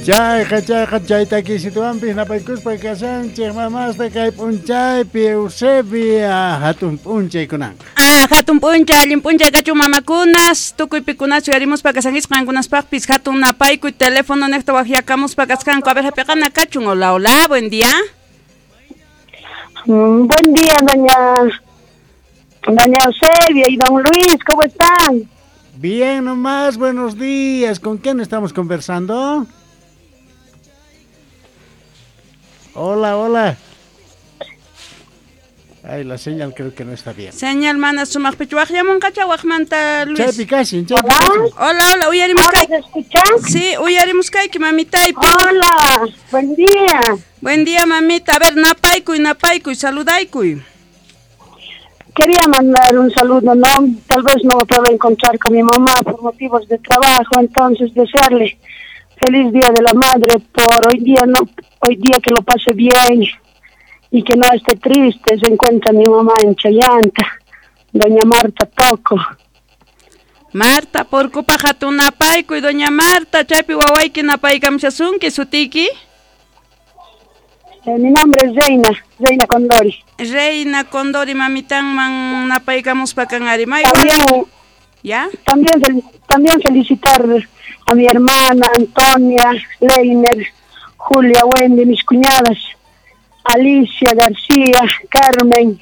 Chayqa chayqa chay takisituwanpis napaykuspa kashanchik mamasta kay p'unchaypi Eusebia hatun p'unchay kunanqa. Ah, hatun p'unchay, allin p'unchay kachun mamakunas, tukuy pikunas uyarimuspa kasankichik qankunaspaqpis hatun napaykuy teléfono nejta waqyakamuspa kasqanku. A ver, hap'iqana kachun. Hola, hola, buen día. Buen día, doña Eusebia y don Luis, ¿cómo están? Bien nomás, buenos días. ¿Con quién estamos conversando? Hola, hola. Ay, la señal creo que no está bien. Señal mana sumaqpichu waqyamunqacha waqmanta Luis. Chaypi kashin, chaypi kashin. Hola, hola, uyarimus ¿Ahora se escucha? Sí, uyarimuskayki, mamitay. Hola, buen día. Buen día, mamita. A ver, napaykuy, napaykuy, saludaykuy. Quería mandar un saludo, ¿no? Tal vez no me puedo encontrar con mi mamá por motivos de trabajo, entonces desearle feliz Día de la Madre por hoy día, no, hoy día que lo pase bien y que no esté triste. Se encuentra mi mamá en Chayanta, doña Marta Toco. Marta, porkupa hatun napaykuy, doña Marta, chaypi wawayki napaykamushasunki, sutiyki? Mi nombre es Reina, Reina Condori. Reina Condori, mamitanman napaykamuspa kan ari. También, ¿ya? También felicitar a mi hermana Antonia, Leiner, Julia, Wendy, mis cuñadas, Alicia García, Carmen,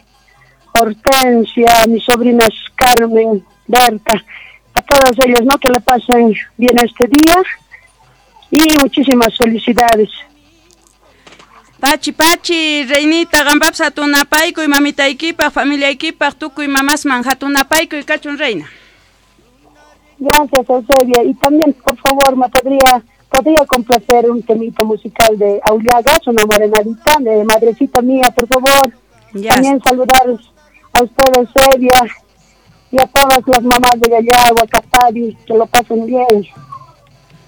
Hortensia, mis sobrinas Carmen, Berta, a todas ellas, ¿no? Que le pasen bien este día y muchísimas felicidades. Pachi, pachi, reinita, qampapis hatun napaykuy, mamitaykipaq, familiaykipaq, tukuy mamasman hatun napaykuy kachun, reina. Gracias, Eusebia. Y también, por favor, me podría complacer un temita musical de Aullagas, una morenadita, de madrecita mía, por favor. Ya. También saludar a ustedes, Eusebia, y a todas las mamás de Llallagua, Catari, que lo pasen bien.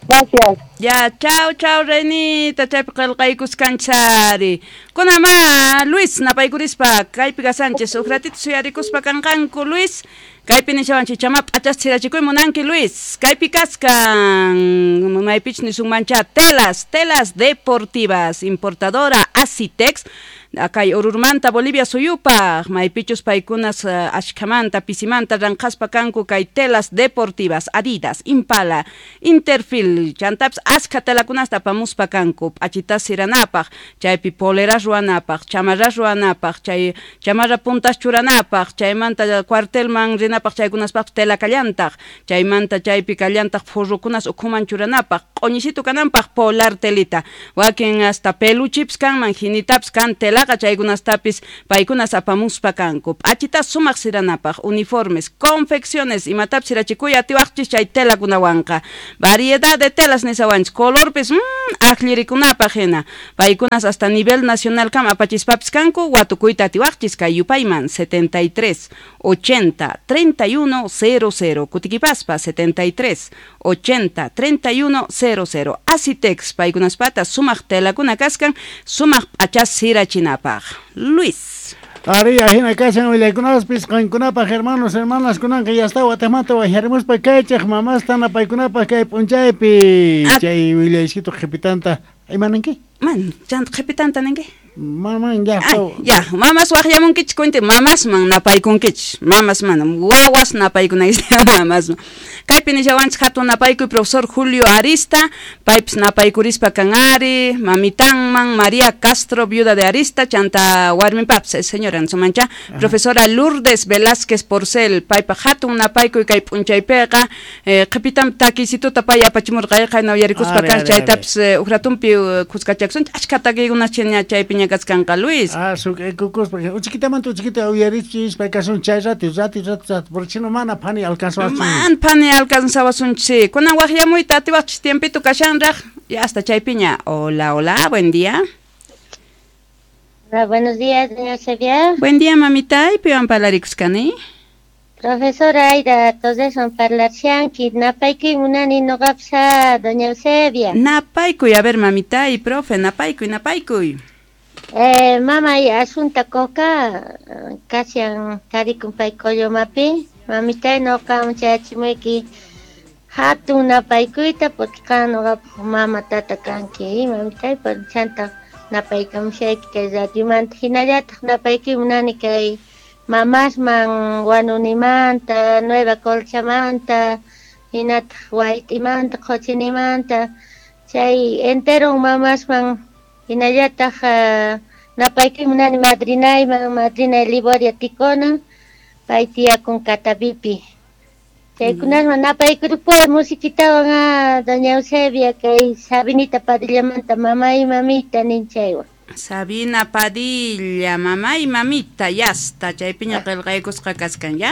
Gracias. Ya, chao, chao, reinita, chaypi qillqaykuskanchari. Kunama, Luis, napaykurispa, kaypi kasanchis, uj ratito suyarikuspa kanqanku, Luis. Kaypi nishawanchik, chama p'achas sirachikuy munanki, Luis. Kaypi kaskan, maypich nisunmancha, telas, telas deportivas, importadora Asitex, kay Orurmanta, Bolivia suyupaq, maypichus paykunas ashkhamanta, pisimanta ranqaspa kanku kay telas deportivas, Adidas, Impala, Interfil, chantapis askha telakunasta apamuspa kanku, p'achitas siranapaq, chaypi poleras ruwanapaq, chamarras ruwanapaq, chay chamarra puntas churanapaq, chaymanta cuartelman rinapaq chaykunaspaqpis tela kallantaq, chaymanta chaypi kallantaq furrukunas ukhuman churanapaq, q'uñisitu kananpaq polar telita, wakin hasta peluchipis kanman, hinitapis kan telaqa chaykunastapis paykunas apamuspa kanku, p'achitas sumaq siranapaq, uniformes, confecciones, imatapis sirachikuy atiwaqchis chay telakunawanqa, variedad de telas nisawanchis, colorpis akllirikunapaq hina, paykunas hasta nivel nacional kam apachispapis kanku, watukuyta atiwaqchis kay yupayman 73 80 31 00, kutikipaspa 73 80 31 00, Asitex paykunaspata sumaq telakuna kaskan, sumaq p'achas sirachinapaq. Luis. Ari, ajina kashan willaykunaspis qankunapaq, hermanos, hermanas, kunanqa ya está watamanta wajarimuspa kaychaq mamasta napaykunapaq kay p'unchaypi. Chay willaysito qhipitanta, imananki? Man, chanta qhipitanta ninki? Maman, ya. Ay, ya, mamas waqyamunkichik cuente, mamasman napaykunkichik, mamasman, wawas napaykunaykichik, mamasman. Kaypi nishawanchik hatun napaykuy profesor Julio Arista, paypis napaykurispa kan ari, mamitanman, María Castro, viuda de Arista, chanta warminpapis, señora nsumancha, profesora Lourdes Velázquez Porcel, paypa hatun napaykuy kay p'unchaypiqa, qhipitan takisituta pay apachimurqa, qayna uyarikuspa kan, chaytapis ujratumpi kuskachakusunchik, achka takiykunas chiña chaypiña kaskanqa, Luis. Ah, kukuspa, uchikitamanta uchikita uyarichis, pay kasun chay rato, rato, rato, rato, porque si no mana phani alcanzawasun. Man phani alcanzawasunchik. Kunan waqyamuyta atiwaqchis tiempito kashanraq, ya hasta chaypiña. Hola, hola, buen día. Hola, buenos días, doña Eusebia. Buen día, mamita, y piwan parlarikusqani. Profesora Aida, todeson parlarshanki, napaykuy munani noqapsa, doña Eusebia. Napaykuy, a ver, mamita y profe, napaykuy, napaykuy. Mamay Asunta Coca, kasian tarikun pay Collomapi, mamitay noqa chayachimuyki Hatun napaykuyta porque qan noqapaq mama tata kanki, mamitay, chanta napaykamushayki kay radiomanta, hinallataq napaykuy munani kay mamasman Wanunimanta, Nueva Colchamanta, hinataq Wayt'imanta, Qhochinimanta, chay enteron mamasman hinallataq napaykuy munani madrinayman, madrinay Liboria Ticona, pay tiyakun Catavipi. Chaykunasman napaykuripuni musiquitawan doña Eusebia kay Sabinita Padillamanta mamay mamita ninchaywan. Sabina Padilla, mamá y mamita, ya está, chaypiña qillqaykusqa kaskan, ya?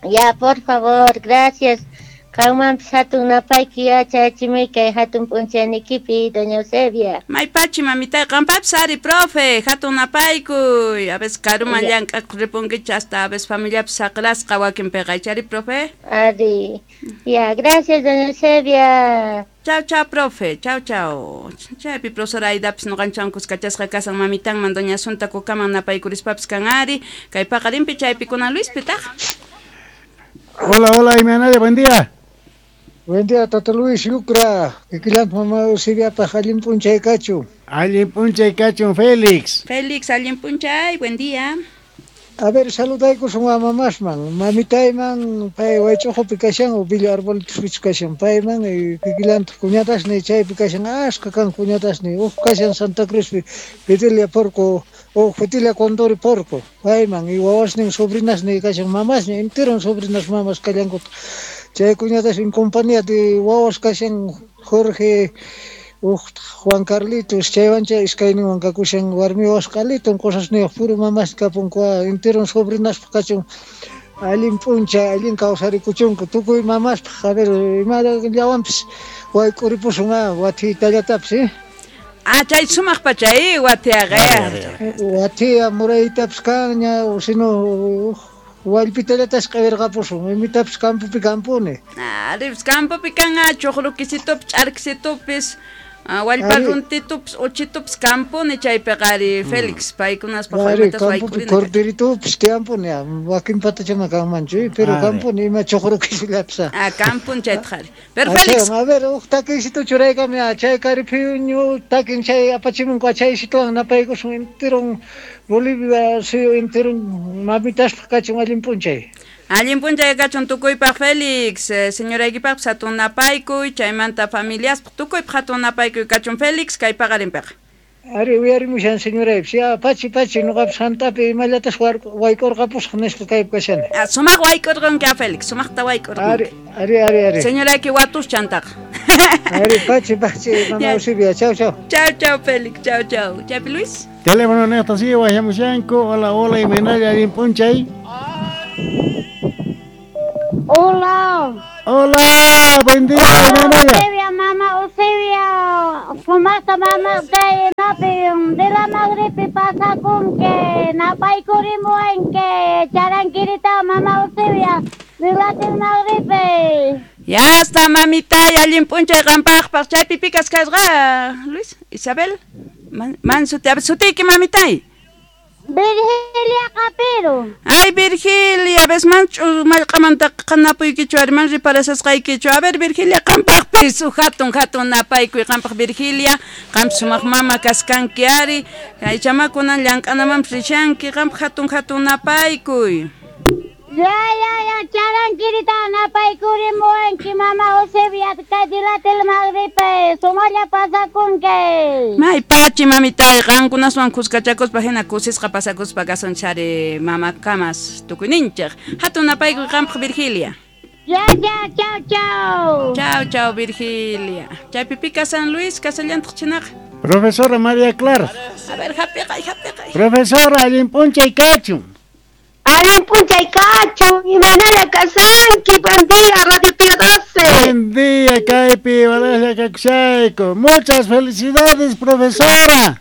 Ya, por favor, gracias. Qanmanpis hatun napayki yachachimuy kay hatun p'unchaynikipi, doña Eusebia. Maypachi, mamitay, qampapis ari, profe, hatun napaykuy. A veces karuman llank'aq ripunkichik hasta a veces familiapis saqrasqa wakinpiqa, chari, profe? Ari. Ya, gracias, doña Eusebia. Chao, chao, profe. Chao, chao. Chaypi profesora Aidapis noqanchwan kuskachasqa kasan mamitanman doña Asunta Kukaman napaykurispapas kan ari. Kay paqarinpi chaypi kunan Luis pitaq. Hola, hola, Imanaya, buen día. Buen día, Tata Luis Lucra. Kikillant mama Eusebiapaq allin p'unchay kachun. Allin p'unchay kachun, Félix. Félix, allin p'unchay, buen día. A ver, saludaykusun mamasman, mamitayman, pay waych'uqupi kashan, o Villa Arbolitos kashan, payman, kikillantaq cuñatasni chaypi kashan, asqa kan cuñatasni, uj kashan Santa Cruzpi, Fidelia Porco, o Fidelia Condori Porco, payman, y wawasnin, sobrinasni kashan, mamasni, enteron sobrinas mamas kallankuta. Chay cuñatas en compañía de wawas kashan Jorge, Juan Carlitos, chaywancha iskayninwan kakushan warmi wawas qaliton cosasniyuq puro mamas kapunku, enteron sobrinaspaq kachun, allin p'unchay, allin kawsarikuchunku, tukuy mamaspaq, a ver, imallawanpis wayk'uripusun wathitallatapis, eh? Ah, chay sumaq pachay, wathiaqa. Wathiya muraytapis kanña, o sino wallpitallatas q'awirqapusun, imitapis campopi kampuni. Ah, campopi kan chuqrukisitupis, ch'arkisitupis, wallpa runtitupis, uchitupis kampuni chaypiqa ari Félix, paykunaspaq wallpitas waykurina. Corderitupis tiyampuni, wakin patachama kanmanchu, pero kampuni ima chuqrukisillapis. Ah, kampuni chaytaq ari. Pero Félix. A ver, uj takiysito churaykami, chay kariphiñu takin chay apachimunku chaysituwan napaykusun enteron Bolivia suyu enteron mamitaspaq kachun allin p'unchay. Allin p'unchay kachun tukuypaq Félix, señoraykipaqpis hatun napaykuy, chaymanta familiaspaq tukuypaq hatun napaykuy kachun Félix, kay paqarinpiqa. Ari uyarimushan señoraypis, ya pachi pachi noqapis hantapi imallatas wayk'urqapusaq nispa kaypi kashani. Ah, sumaq wayk'urqanki a Félix, sumaqta wayk'urqanki. Ari, ari, ari, ari. Señorayki watus chantaqa. Ari, pachi, pachi, mama Eusebia, chao, chao. Chao, chao, Félix, chao, chao. Chaypi Luis. Teléfono neqta sigue wayamushanku. Hola, hola, Imanaya, allin p'unchay. Hola. Hola, buen día, Hola, Eusebia, mamá Eusebia, sumaqta mamá kay napi de la magripi pasakun que napaykurimuwan charankirita mamá Eusebia de la magripe. Ya está, mamita, allin p'unchay qampaqpaq chaypi pikas kasqa, Luis, Isabel, man sutiyki mamitay. Virgilia Capiro. Ay, Virgilia, ves manchu mallq'amanta qanapuykichu ari man riparasasqaykichu. A ver, Virgilia, qampaqpis uj hatun hatun napaykuy qampaq Virgilia, qampi sumaq mama kaskanki ari, chamakunan llank'anamanpis rishanki, qampaq hatun hatun napaykuy. Ya, ya, ya, charankirita napaykurimuwanki mama Eusebia, kay dilatel magripe, sumalla pasakunki. May pachi mamitay, qankunaswan kuskachakuspa hina kusisqa pasakuspa kasun chari mama kamas tukuyninchik. Hatun napaykuy qampaq Virgilia. Ya, ya, chao, chao. Chao, chao, Virgilia. Chaypi pika San Luis, kasallantaq chinaqa. Profesora María Clara. A ver, hapiqay, hapiqay. Profesora, allin p'unchay kachun. Allin p'unchay kachun, imanalla kasanki, buen día, Radio Pío 12. Buen día, kaypi, walalla kakushayku. Muchas felicidades, profesora.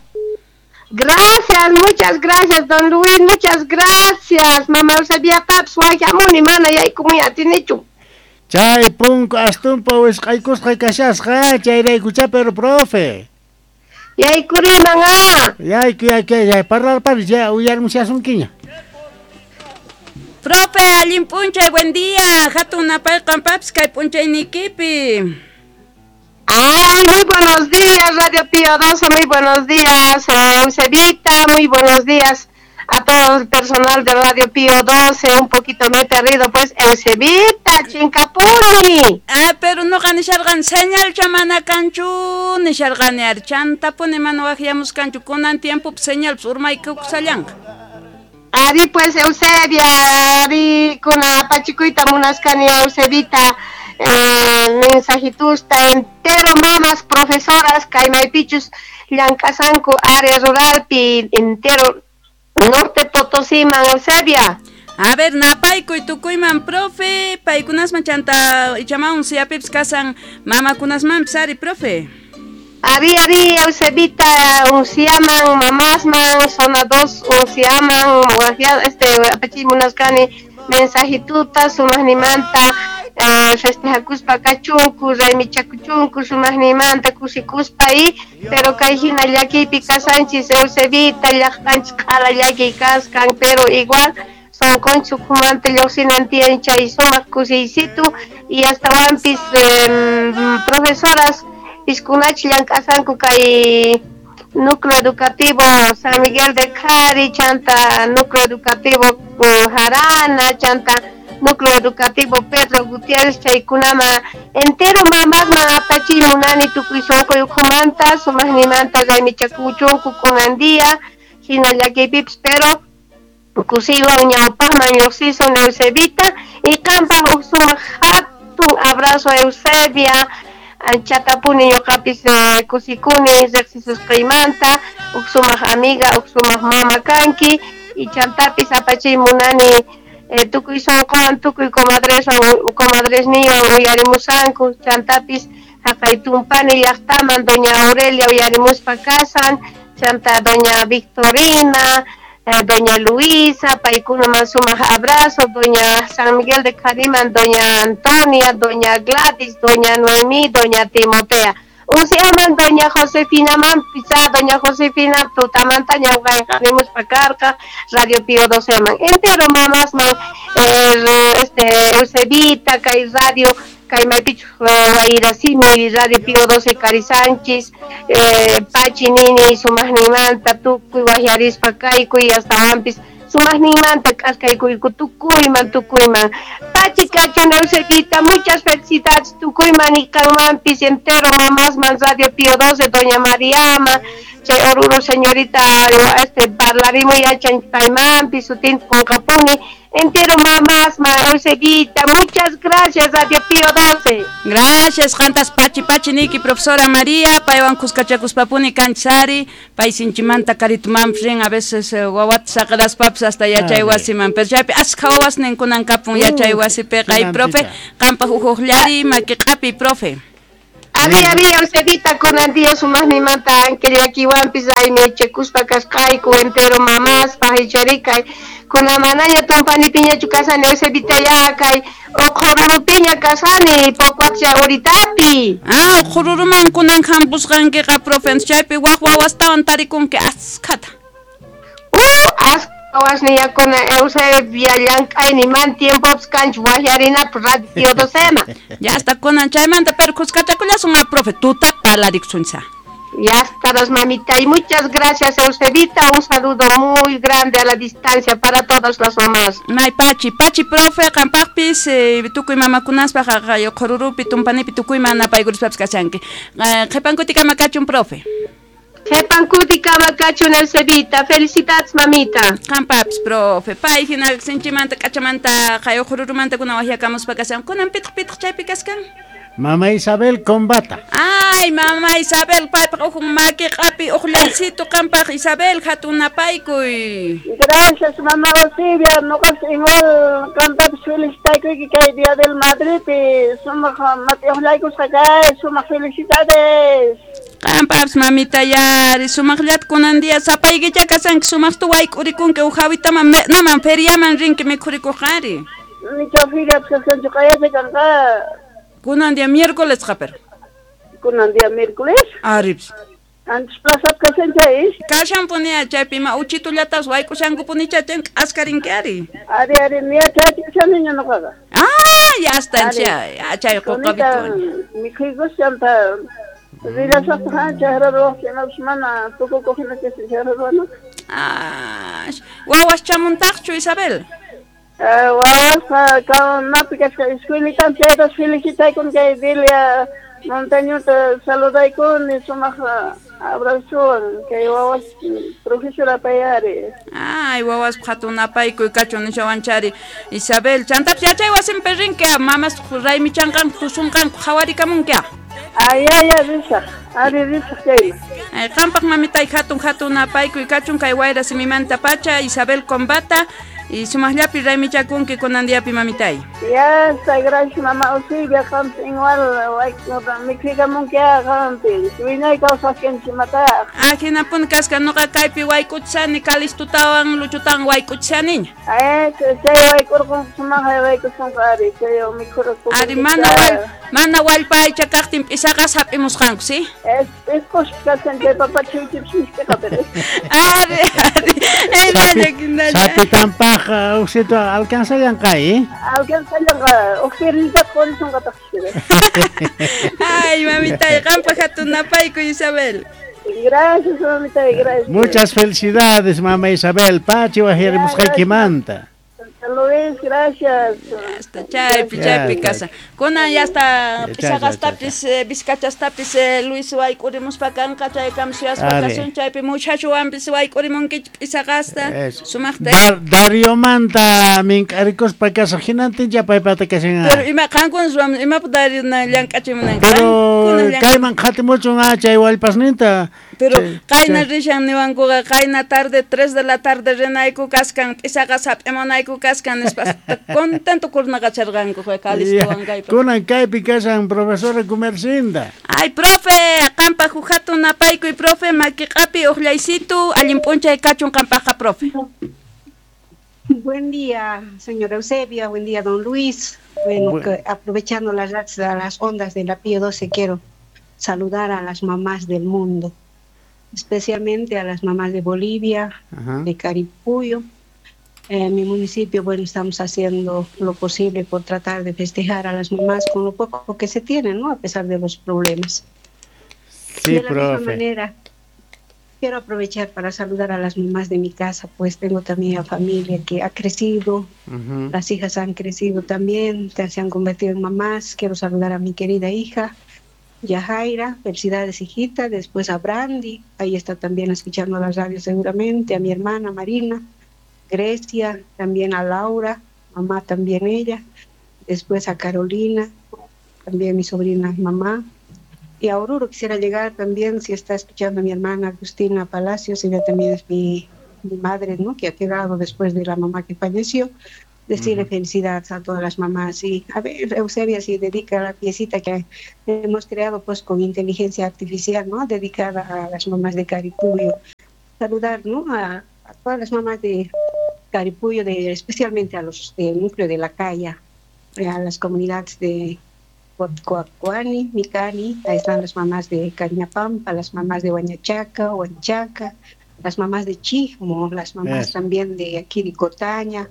Gracias, muchas gracias, don Luis, muchas gracias. Mama Eusebia Paps, wayamuni, mana yaykumuy atinichu. Chay punku astumpa wisq'aykusqa kashasqa, chayraykucha, pero profe. Yaykuriman ah. Yayku, yayku, yay, parlarparis, ya uyarmushasunkiña. Profe, allin p'unchay, buen día. Hatun napay qampapis kay p'unchaynikipi. Ay, muy buenos días, Radio Pío 12, muy buenos días, Eusebita, muy buenos días a todo el personal de Radio Pío 12, un poquito me he perdido, pues, Eusebita, chinkapuni. Ah, pero noqa nisharqani señalcha mana kanchu nisharqani ari chantapuni mana waqyamuskanchu kunan tiempopi señalpis urmaykukusallanqa. Ari, pues, Eusebia, ari, kuna apachikuyta munaskani, Eusebita, mensajitusta entero mamas, profesoras, kaymaypichus llank'asanku área ruralpi entero Norte Potosíman, Eusebia. A ver, napaykuy tukuyman, profe, paykunasman chanta ichamawan suyapipis kasan mamakunasmanpis ari, profe. Ari, ari, Eusebita, unsiaman, mamasman, zona 2, unsiaman, apachiy munaskani, mensajituta, sumaqnimanta, festejakuspa kachunku, raymichakuchunku, sumaqnimanta, kusikuspa y, pero kay hina llakiypi kasanchis, Eusebita, llaqtanchis q'ala llakiy kaskan, pero igual sonqonchis ukhumanta lluqsinan tiyan chay sumaq kusiysitu y astawanpis profesoras piskunach llank'asanku kay núcleo educativo San Miguel de Cari, chanta núcleo educativo Jarana, chanta núcleo educativo Pedro Gutiérrez, chaykunama entero mamasman apachiy munani tukuy sunquy ukhumanta, sumaqnimanta raymichakuchunku kunan día, hina llakiypipis, pero kusiywan ñawpaqman lluqsisun Eusebita y qampaq huk sumaq hatun abrazo Eusebia, anchatapuni ñuqapis kusikuni riqsisusqaymanta, huk sumaq amiga, huk sumaq mama kanki y chantapis apachiy munani tukuy sunquwan, tukuy comadresniwan uyarimusanku, chantapis haqay tumpani llaqtaman doña Aurelia uyarimuspa kasan, chanta doña Victorina, doña Luisa, paykunaman sumaq abrazo, doña San Miguel de Cariman, doña Antonia, doña Gladys, doña Noemí, doña Timotea. Unsiaman doña Josefina man, pisa doña Josefina tutamanta ñawqayqarimuspa karqa, Radio Pío 12 man. Entero mamas man, Eusebita, kay radio, kay maypichu wayrasimi, Radio Pío 12 Cari Sánchez, Pachi nini sumaqninmanta tukuy waqyarispa kaykuy astawanpis sumaqninmanta k'askaykuyku tukuyman tukuyman. Pachi kachun Eusebita, muchas felicidades tukuyman y kanmanpis entero mamasman Radio Pío 12, doña Mariama, chay Oruro señorita, parlarimuy yachan paymanpis sutinta qunqapuni, entero mamasman Eusebita, muchas gracias Radio Pío 12. Gracias, qantas pachi pachi niki profesora María, paywan kuskachakuspapuni kanchis pay sinchimanta karitumanpis rin, a veces wawata saqiraspapis hasta yachay wasiman, pero chaypi askha wawasnin kunan kapun yachay wasipiqa. Ay, profe, qampaq huk hukllari maki q'api, profe. Ari, ari, Eusebita, kunan día sumaqnimanta anke llakiwanpis raymichakuspa kasqayku entero mamaspaq icharikay kunan manaña tumpanipiñachu kasani Eusebita ya kay uqhururupiña kasani Pocuatcha uritapi. Ah, uqhururuman kunan hampusqankiqa, profe, chaypi waq wawastawan tarikunki askhata. Askha wawasniyakuna Eusebia llank'ayniman tiempopis kanchu waqyarinapaq Radio Pío 12 man. Ya hasta kunan chaymanta, pero kuskachakullasun a profe, tuta parlarikusuncha. Ya estarás, mamita, y muchas gracias, Eusebita, un saludo muy grande a la distancia para todas las mamás. May pachi, pachi, profe, qampaqpis, tukuy mamakunaspaq haqay uqhururupi, tumpanipi tukuyman napaykuruspapis kashanki. Qhipankutikama kachun, profe. Qhipankutikama kachun, Eusebita, felicidades, mamita. Qampapis, profe, pay hina sinchimanta, k'achamanta, qhay uqhururumanta kunan waqyakamuspa kashan. Kunan pitaq pitaq chaypi kaskan? Mamá Isabel Combata. Ay, mamá Isabel, paypaq uj maki q'api uqllaysitu qampaq Isabel, hatun napaykuy. Gracias, mamá Eusebia, noqas igual qampapis felicitaykuyki kay Día del Madridpi, sumaq maki uqllaykusqa kay, sumaq felicidades. Qampapis mamita yari, sumaqllata kunan día sapaykicha kasanki, sumaqta wayk'urikunki uj hawitaman me'naman feriaman rinki mikhurikuqari. Nicha feriapis kaskanchu q'ayasha kanqa. Kunan día miércoles, pero. Kunan día miércoles? Arribs. Antes plaza kashan chay. Kashanpuni chaypi ima uchitullatas wayk'ushankupunicha chay k'askarinki ari. Ari ari niya chayachishaniña nuqaqa. Ah, ya está chay, chay quqapitu. Mikhuykushanta rillasaqta chayra ruwaq chaynapas mana tukukuq hina chayra ruwana. Ah, wawas chamuntaqchu Isabel? Wawasqa kawnapi kasqa escuelitan chaytas felicitaykun kay Delia Montañota saludaykuni sumaq abrazowan kay wawas profesora payari. Ay, wawas hatun napaykuy kachun nishawanchari Isabel. Chantapis yachay wasinpi rinki mamas raymichanqanku tusunqanku qhawarikamunki. Ay, ay, risaq. Ari risaq chayman. Ay, qampaq mamitay hatun hatun napaykuy kachun kay wayra simimanta pacha Isabel Combata. Y sumaqllapi raymichakunki kunan diapi mamitay. Ya está, gracias mamá Eusebia, qampi igual mikhuykamunki qampi. Wiñay kawsaqkanchik mataq. Ajinapuni kasqa nuqa kaypi wayk'uchishani Calistutawan Luchutawan wayk'uchishaniña. Ay, chay wayk'urqunqa sumaqlla wayk'usunqa ari, chay mikhurqunqa. Ari mana wallpa aycha kaqtin p'isaqas hap'imusqanku, si? Es p'isqus kashan chay papa chiwchipis misk'iqa pero. Ari, ari. Hinalla, hinalla. Sapitampaq uksito alcanzallanqa, ¿eh? Alcanzallanqa, uksirnita qurisunqataq. Ay, mamitay, qampaq hatun napaykuy Isabel. Gracias, mamita, gracias. Muchas felicidades, mamá Isabel. Pachi wajyarimusqaykimanta. Luis, gracias. Hasta chaypi, chaypi casa. Kunan ya hasta p'isaqastapis, vizcachastapis Luis wayk'urimuspa kanqa chaykam suyaspa kasun chaypi muchachuwanpis wayk'urimunkichik p'isaqasta. Sumaqta. Dariomanta mink'arikuspa kasaq hinantincha paypata kashan. Pero ima qankuna ruwan imapaq Dario llank'achimunanki. Pero kayman qhatimuchun chay wallpasninta. Pero qayna rishan niwankuqa qayna tarde 3 de la tarde rinayku kaskan p'isaqas hap'imunayku kaskan nispa contento kurnaqacharqanku Calistuwan kaypi. Kunan kaypi kashan profesora Gumercinda. Ay, profe, qampaq huk hatun napaykuy profe, makiq'api uqllaysitu, allin p'unchay kachun qampaqqa profe. Buen día, señora Eusebia, buen día, don Luis. Bueno, que aprovechando las ondas de la Pío 12, quiero saludar a las mamás del mundo, especialmente a las mamás de Bolivia, ajá, de Caripuyo. En mi municipio, bueno, estamos haciendo lo posible por tratar de festejar a las mamás con lo poco que se tiene, ¿no? A pesar de los problemas. Sí, de la profe. Misma manera, quiero aprovechar para saludar a las mamás de mi casa, pues tengo también a familia que ha crecido, uh-huh, las hijas han crecido también, se han convertido en mamás. Quiero saludar a mi querida hija, Yajaira, felicidades hijita, después a Brandy, ahí está también escuchando la radio seguramente, a mi hermana Marina, Grecia, también a Laura, mamá también ella, después a Carolina, también mi sobrina mamá, y a Oruro quisiera llegar también, si está escuchando a mi hermana Agustina Palacios, ella también es mi madre, ¿no?, que ha quedado después de la mamá que falleció, decirle felicidades a todas las mamás. Y a ver, Eusebia, si dedica la piecita que hemos creado pues con inteligencia artificial, ¿no?, dedicada a las mamás de Caripuyo. Saludar, ¿no?, a todas las mamás de Caripuyo, especialmente a los del núcleo de La Calla, a las comunidades de Coacuani, Micani, ahí están las mamás de Cañapampa, las mamás de Huañachaca, Huanchaca, las mamás de Chijmo, las mamás también de aquí de Cotaña,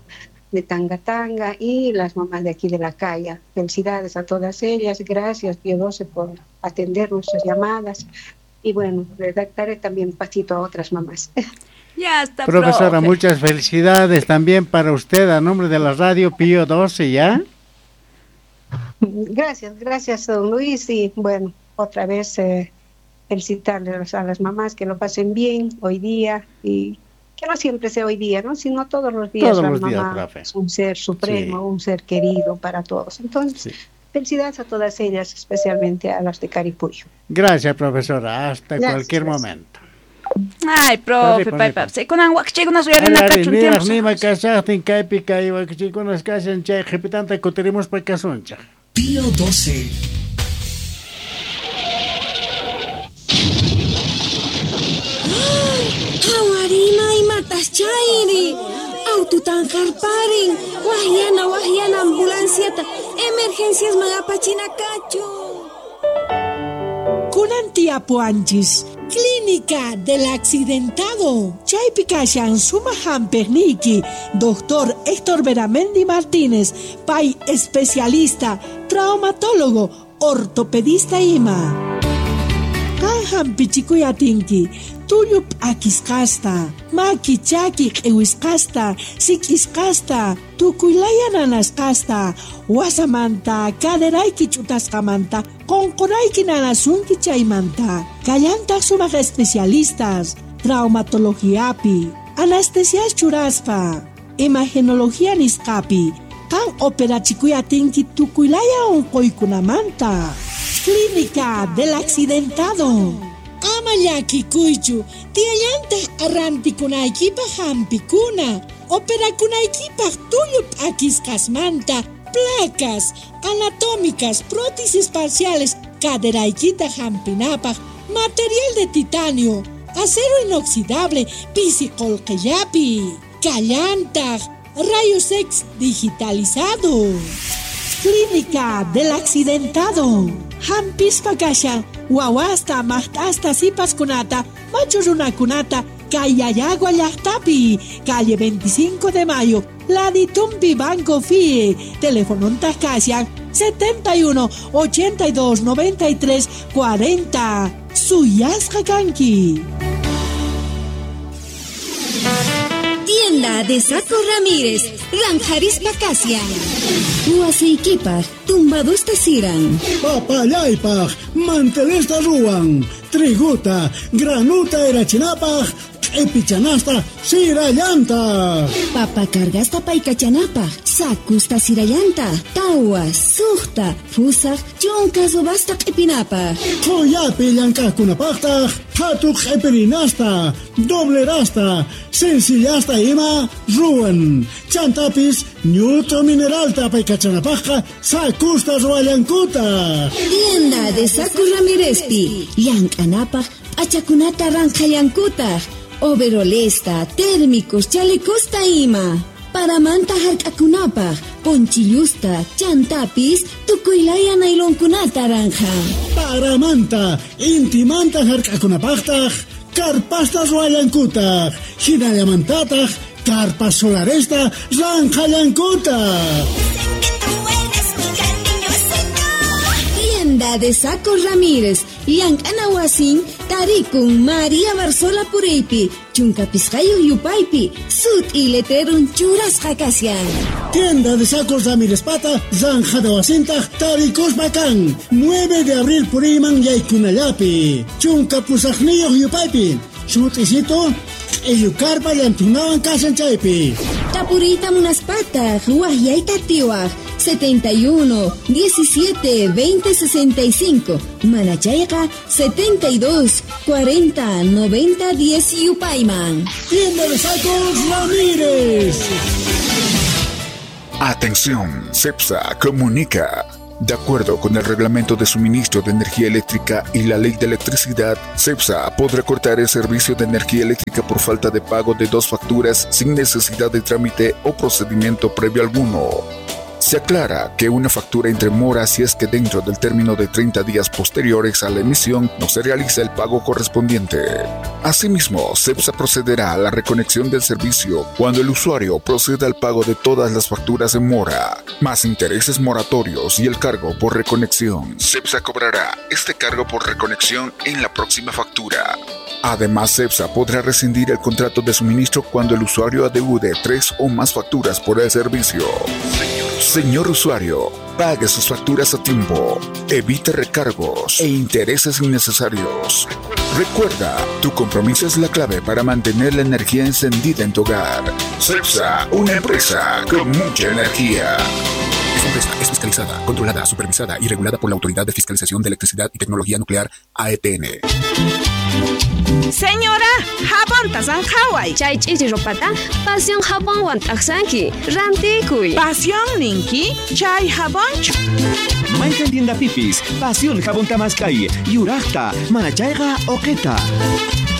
de Tangatanga y las mamás de aquí de La Calla. Felicidades a todas ellas, gracias Pío 12 por atender nuestras llamadas y bueno, le daré también pasito a otras mamás. Ya está, profesora, profe. Muchas felicidades también para usted a nombre de la radio Pío 12, ¿ya? Gracias, gracias don Luis y bueno, otra vez felicitarles a las mamás, que lo pasen bien hoy día y que no siempre sea hoy día, ¿no?, sino todos los días. Todos la los mamá días, profe. Es un ser supremo, sí, un ser querido para todos. Entonces, sí, felicidades a todas ellas, especialmente a las de Caripuyo. Gracias, profesora. Hasta gracias, cualquier gracias. Momento. Ay, profe, paypa. Kunan wakchikunas uyarina kachun tiempo. Nima kashaqtin kaypi kay wakchikunas kashan chay qhipitanta kutirimuspa kasunchaq. Pío 12. Hawarima imatas chayri. Aututan harparin. Wahyana, wahyana ambulanciata. Emergencias magapachina kachu. Kunan Kunan tiyapuwanchis. Clínica del Accidentado. Chaypi kashan sumaq hampiqniyki, Doctor Héctor Beramendi Martínez, pay especialista, traumatólogo, ortopedista ima. Qan hampichikuy atinki, tullu p'akisqasta, maki chaki q'iwisqasta, sik'isqasta, tukuylaya nanasqasta, wasamanta, caderayki ch'utasqamanta, qonqorayki nanasunki chaymanta. Kallantaq sumaq especialistas, traumatologiapi, anestesias churaspa, imagenología nisqapi, qan operachikuy atinki tukuylaya unquykunamanta. Clínica del Accidentado. Ama llakikuychu, tiyallantaq arrantikunaykipaq hampikuna, operakunaykipaq tullu p'akisqasmanta, placas anatómicas, prótesis parciales, caderaykita hampinapaq, material de titanio, acero inoxidable, pisi qullqillapi, kallantaq, rayos X digitalizado. Clínica del Accidentado. Hampispa kashan, wawasta, maqt'asta, sipaskunata, machu runakunata, kay Yayagua llaqtapi, calle 25 de Mayo, Laditumpi Banco FIE, telefonontaq kashan 71 82 93 40. Suyasqa kanki. Tienda de Saco Ramírez, Ranjarispa Kasian. Wasiykipaj, tumbadusta siran. Papallaypaj, mantelesta ruwan. Triguta, granuta erachinapaj, q'ipichanasta sirallanta. Papa cargasta paykachanapaj, sakusta sirallanta, tawa, suqta, fusaj, chunka subasta q'ipinapaj. Qhuyapi llank'aqkunapaqtaq, qhatu q'ipirinasta, doblerasta, sencillasta ima ruwan. Chantapis ñut'u mineralta paykachanapajqa sakusta ruwallankuta. Tienda de Saco Ramírezpi, llank'anapaj p'achakunata ranqhallankutaq. Overolesta, térmicos, chalecosta ima. Paramanta hark'akunapaj, ponchillusta, chantapis, tukuylaya nailonkunata ranja. Paramanta, intimanta hark'akunapajtaj, karpasta ruwallankutaq, hinallamantataq, karpas solaresta ranqhallankutaq. Tienda de Saco Ramírez, llank'ana wasin, tarikun María Barzola Puriypi, chunka pisqayuq yupaypi, sut'i letrerun churasqa kashan. Tienda de Sacos Ramírez pata, zanjada wasintaq, tarikuspa kan, 9 de abril puriyman yaykunallapi, chunka pusaqniyuq yupaypi, sut'isito, q'illukarpa llantunawan kashan chaypi. Tapuriyta munaspataq, waqyayta atiwaq, 71 17 20 65, manachayqa 72 40 90 10 yupayman. Tienda de Sacos Ramírez. Atención, CEPSA comunica. De acuerdo con el Reglamento de Suministro de Energía Eléctrica y la Ley de Electricidad, CEPSA podrá cortar el servicio de energía eléctrica por falta de pago de 2 facturas sin necesidad de trámite o procedimiento previo alguno. Se aclara que una factura entre mora si es que dentro del término de 30 días posteriores a la emisión no se realiza el pago correspondiente. Asimismo, CEPSA procederá a la reconexión del servicio cuando el usuario proceda al pago de todas las facturas en mora, más intereses moratorios y el cargo por reconexión. CEPSA cobrará este cargo por reconexión en la próxima factura. Además, CEPSA podrá rescindir el contrato de suministro cuando el usuario adeude 3 o más facturas por el servicio. Señor usuario, pague sus facturas a tiempo, evite recargos e intereses innecesarios. Recuerda, tu compromiso es la clave para mantener la energía encendida en tu hogar. CEPSA, una empresa con mucha energía. Esta empresa es fiscalizada, controlada, supervisada y regulada por la Autoridad de Fiscalización de Electricidad y Tecnología Nuclear, AETN. Señora, jabonta zanjaway. Chay ch'ichi ropata, pasión jabonwan t'aqsanki, rantikuy. Pasión ninki, chay jabonchu. Mayqan tienda pipis, pasión jabón tamaskay, yuraqta, manachayqa oqeta.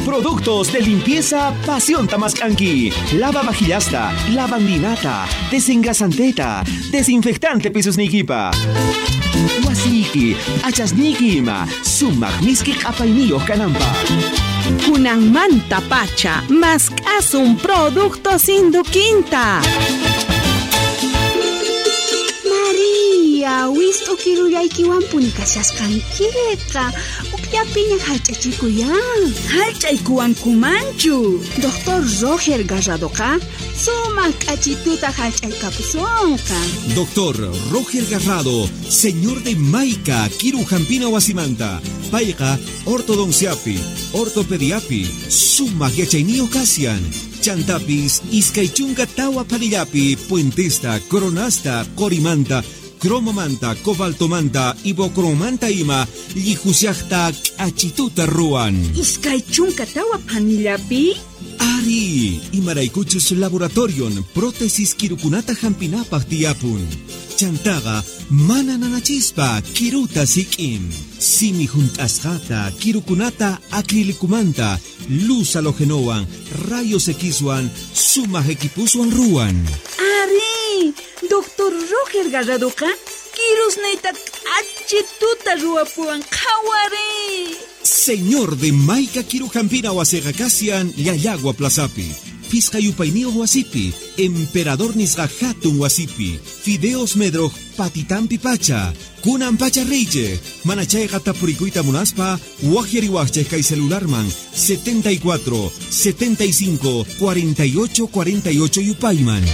Productos de limpieza Pasión Tamascanqui. Lava vajillasta, lavandinata, desengrasanteta, desinfectante pisos niquipa. Wasiyki, p'achasniyki ima, sumaq miski q'apayniyuq kananpaq. Kunanmanta pacha, mask'asun productos Induquinta. Maria, wist'u kirullaykiwanpuni kashasqankiqa. Ukllapiña hallch'achikuyan. Hallch'aykuwankumanchu. Doctor Roger Garradoqa sumaq k'achituta hallch'aykapusonqa. Doctor Roger Garrado, señor de Maica, Kiru Jampina Wasimanta, Payqa, ortodonciapi, ortopediapi, sumaq yachayniyuq kashan. Chantapis, iskay chunka tawa phanillapi, puentesta, coronasta, qorimanta, cromomanta, cobaltomanta, ibocromanta ima, llijushaqta k'achituta ruwan. Iskay chunka tawa phanillapi? Ari, imaraykuchus laboratorion prótesis kirukunata hampinapaq tiyapun. Chantaqa mana nanachispa kiruta sik'in. Simi hunt'asqata kirukunata acrilicumanta, luz halogenowan, rayos Xwan, sumaq equipuswan ruwan. Ari, Doctor Roger Garradoqa kirusniyta k'achituta ruwapuwan qhawari. Señor de Maica Kirujampina wasiqa kashan Llallagua Plazapi, Pisqa yupayniyuq wasipi, Emperador nisqa hatun wasipi, Fideos Medroj patitampi pacha, kunan pacha riychej, mana chayqa tapurikuyta munaspa, waqyariwaqchej kay celularman 74 75 48 48 yupayman.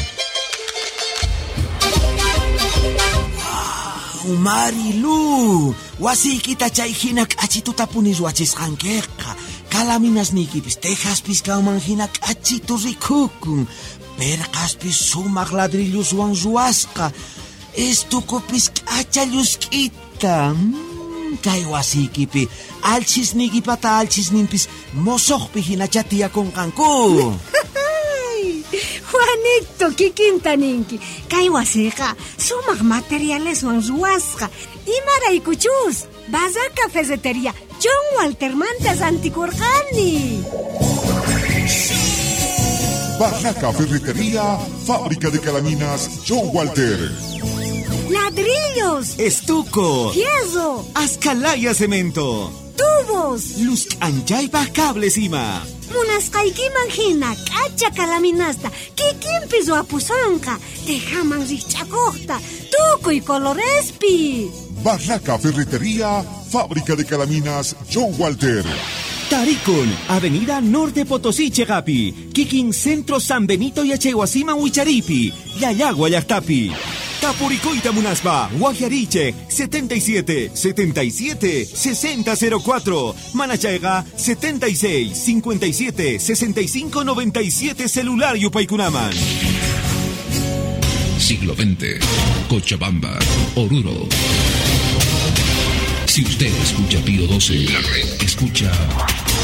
Marilu, wasiykita chay hina k'achituta puni ruwachisqankiqa. Kalaminasniykipis tejaspis kanman hina k'achitu rikukun. Perqaspis sumaq ladrilloswan ruwasqa. Estukupis k'acha llusk'ita. Kay wasiykipi alchisniykipata alchisninpis mosoqpi hinacha tiyakunqanku. Juanito, kikinta ninki. Kay wasiqa sumaq materialeswan ruwasqa. Imaraykuchus, Barraca Ferretería John Waltermanta rantikurqani. Barraca Ferretería, fábrica de calaminas John Walter. Ladrillos, estuco, fierro, ascalaya cemento, tubos, luz anchaypaj cables ima. Munasqaykiman hina k'acha kalaminasta kikinpi ruwapusonqa, tejaman rikch'akuqta, tukuy colorespi. Barraca Ferretería, fábrica de calaminas John Walter. Tarikun, Avenida Norte Potosí, Chegapi, Kikin Centro San Benito Yachaywasiman Wicharipi, Llallagua llaqtapi. Tapurikuyta munaspa, Waqyarichej 77 77 60 04, Manachayqa 76 57 65 97 celular yupaykunaman. Siglo XX, Cochabamba, Oruro. Si usted escucha Pío 12, la red escucha